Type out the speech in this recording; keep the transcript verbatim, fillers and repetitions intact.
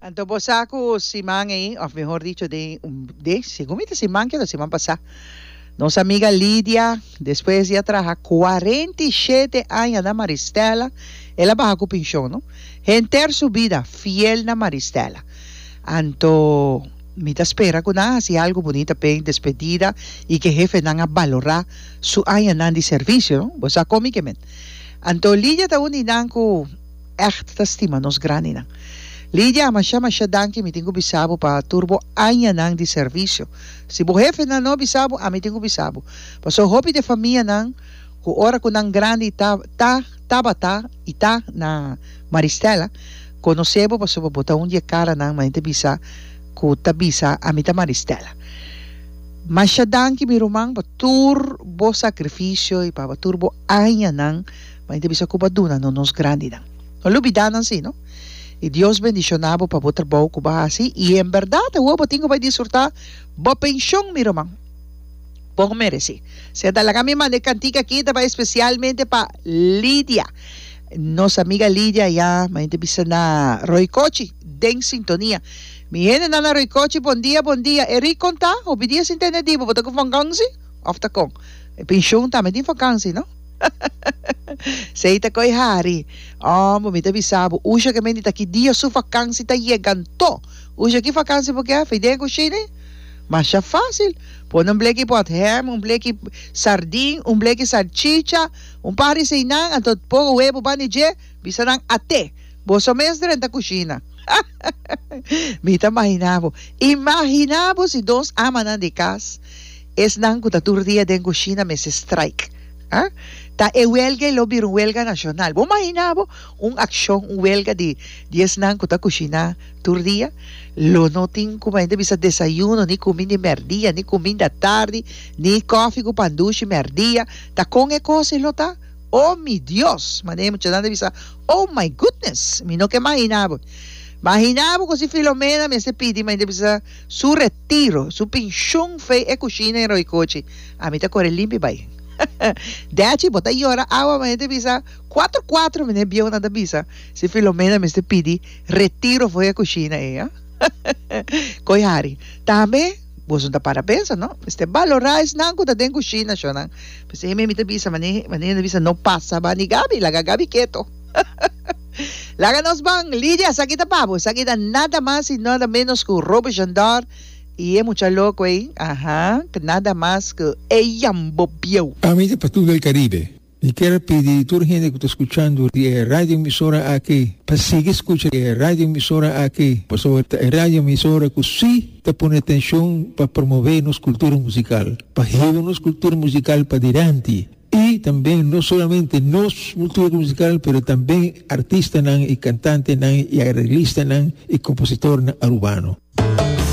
Anto bo sa ku siman ei, òf mehor dicho den un de segun mi ta siman ke siman pasá, nos amiga Lidia, despues di a traha kuarenta i shete aña na Maristella, el a baha ku penshon, no? Henter su bida fiel na Maristella. Anto mi ta spera ku nan a hasi algu bunita p'e despedida i ku e hefenan a balorá su añanan di servisio, no? Bo sa kon mi ke men. Anto Lidia ta un di nan ku ègt ta stima nos grandinan. Lidia, masha masha danki mi tin ku bisa bo pa tur bo añanan di servisio. Si bo hefenan no bisa bo, ami tin ku bisa bo. Pasobra hopi di e famianan ku ora ku nan grandi ta ta tabata i ta na Maristella, konosé bo pasobra bo ta un di e karanan manera ta bisa ku ta bisa ami ta Maristella. Masha danki mi ruman pa tur bo sakrifisio i pa tur bo añanan manera ta bisa ku bo a duna no nos grandinan. No lubida nan si no. I Dios bendishoná bo pa bo trabou ku bo a hasi i en bèrdat awor bo tin ku bai disfrutá bo penshon mi ruman. Bo meresé. Senta laga mi manda e kantika aki ta bai espesialmente pa Lidia. Nos amiga Lidia ya mainta bisa na Roycochi den sintonia. Mi hendenan na Roycochi bon dia bon dia. Eric kon ta? Hopi dia sin tende di bo. Bo ta ku vakansi of ta kon? E penshon tambe tin vakansi no? Sei ta koy hari. Ombo mi ta bisa bo Usha ke menti ta ki dia su vakansi ta yega anto. Usha ki vakansi bo ke? Fei den kushina? Masha fácil. Pone un bleki pot ham, un bleki sardin, un bleki salchicha, un par di eseinan, anto poko webu ban di dje, bisa nan ate. Boso mes drenta kushina. Mi ta mahina bo. Imagina bo si dos amanan di kas, esnan ku ta tur dia den kushina mester strike. Ah? Ta e welga ei lo bira un welga nashonal. Bo mahina bo un akshon, un welga di di esnan ku ta kushiná tur dia? Lo no tin ku hende bisa desayuno, ni kuminda di mèrdia, ni kuminda tardi, ni kòfi ku pandushi mèrdia. Ta kon e kos ei lo ta? O mi Dios! Manera e muchanan ta bisa, Oh my goodness! Mi no ke mahina bo. Mahina bo ku si Filomena mester pidi ma hende bisa su retiro, su penshun fei e kushina en Roikochi. Ami ta kore limpi bai. Dechi, bo ta yora awa ma hende bisa kuatro kuatro mene bieunan ta bisa si Filomena mester pidi retiro for e kushina ei. Koi hari. Tambe boso no ta para pensa no. Mester balorá esnan ku ta den kushina shonnan. P'esei mi ta bisa mane mane ta bisa no pasa bani Gaby, laga Gaby keto. Laga nos ban. Lidia, esaki ta pa bo. Esaki ta nada mas y nada menos ku Roby Jandor y e mucha loco ey. Aha, nada mas ku e Yambo Bieu. Ami ta pa tur el Caribe. Mi kier a pidi tur hende ku ta skuchando di e radioemisora aki pa sigui skucha e radioemisora aki pasobra ta e radioemisora ku si ta pone atenshon pa promove nos kultura musikal, pa hiba nos kultura musikal padilanti i tambe no solamente nos kultura musikal pero tambe artistanan i kantantenan i areglistanan i kompositornan arubano.